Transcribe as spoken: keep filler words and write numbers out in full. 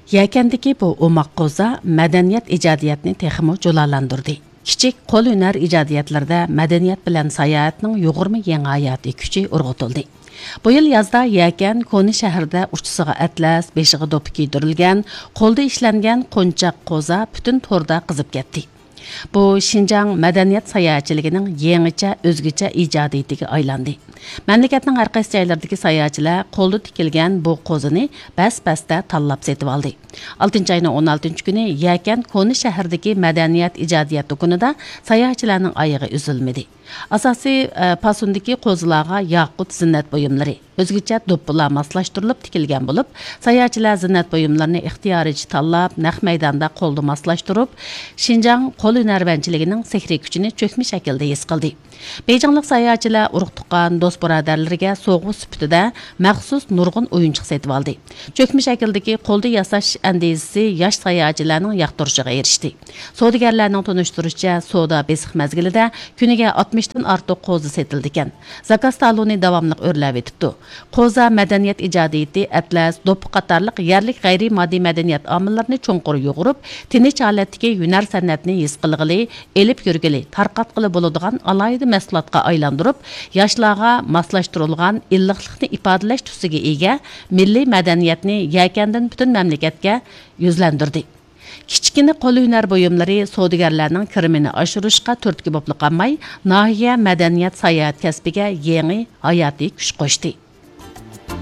يەكەندىكى بۇ ئوماق قوزا مەدەنىيەت ئىجادىيەتنى تېخىمۇ جۇلالاندۇردى. كىچىك قول ھۈنەر ئىجادىيەتلىرىدە مەدەنىيەت بىلەن ساياھەتنىڭ يۇغۇرما يېڭى ھاياتىي كۈچى ئۇرغۇتۇلدى. بۇ يىل يازدا يەكەن كونا شەھىرىدە ئۇچىسىغا ئەتلەس، بېشىغا دوپپا كىيدۈرۈلگەن، قولدا ئىشلەنگەن قونچاق قوزا پۈتۈن توردا قىزىپ كەتتى. بۇ شىنجاڭ مەدەنىيەت ساياھەتچىلىكىنىڭ يېڭىچە، ئۆزگىچە ئىجادىيىتىگە ئايلاندى. مەملىكەتنىڭ ھەر قايسى جايلىرىدىكى ساياھەتچىلەر قولدا تىكىلگەن بۇ قوزىنى بەس-بەستە تاللاپ سېتىۋالدى. ئالتىنچى ئاينىڭ ئون ئالتىنچى كۈنى يەكەن كونا شەھىرىدىكى مەدەنىيەت ئىجادىيەت دۇكىنىدا ساياھەتچىلەرنىڭ ئايىغى ئۈزۈلمىدى. ئاساسىي، ئە، پاسوندىكى قوزىلارغا ياقۇت زىننەت بۇيۇملىرى، ئۆزگىچە دوپپىلار ماسلاشتۇرۇلۇپ تىكىلگەن بولۇپ، ساياھەتچىلەر زىننەت بۇيۇملىرىنى ئىختىيارىيچە تاللاپ، نەق مەيداندا قولدا ماسلاشتۇرۇپ، شىنجاڭ قول ھۈنەرۋەنچىلىكىنىڭ سېھرىي كۈچىنى چۆكمە شەكىلدە ھېس قىلدى. بېيجىڭلىق ساياھەتچىلەر ئۇرۇق-تۇغقان، دوست-بۇرادەرلىرىگە سوۋغا سۈپىتىدە مەخسۇس نۇرغۇن ئويۇنچۇق سېتىۋالدى. چۆكمە شەكىلدىكى قولدا ياساش ئەندىزىسى ياش ساياھەتچىلەرنىڭ ياقتۇرۇشىغا ئېرىشتى. سودىگەرلەرنىڭ تونۇشتۇرۇشىچە، سودا بېسىق مەزگىلىدە كۈنىگە ئاتمىشتىن ئارتۇق قوزا سېتىلىدىكەن. زاكاز تالونى داۋاملىق ئۆرلەۋېتىپتۇ. قوزا مەدەنىيەت ئىجادىيىتى، ئەتلەس، دوپپا قاتارلىق يەرلىك غەيرىي ماددىي مەدەنىيەت ئامىللىرىنى چوڭقۇر يۇغۇرۇپ، تىنچ ھالەتتىكى ھۈنەر سەنئەتنى ھېس قىلغىلى، ئېلىپ يۈرگىلى، تارقاتقىلى بولىدىغان ئالاھىدە مەھسۇلاتقا ئايلاندۇرۇپ، ياشلارغا ماسلاشتۇرۇلغان ئىللىقلىقنى ئىپادىلەش تۈسىگە ئىگە مىللىي مەدەنىيەتنى يەكەندىن پۈتۈن مەملىكەتكە يۈزلەندۈردى. كىچىككىنە قول ھۈنەر بۇيۇملىرى سودىگەرلەرنىڭ كىرىمىنى ئاشۇرۇشقا تۈرتكە بولۇپلا قالماي، ناھىيە مەدەنىيەت ساياھەت كەسپىگە يېڭى ھاياتىي كۈچ قوشتى.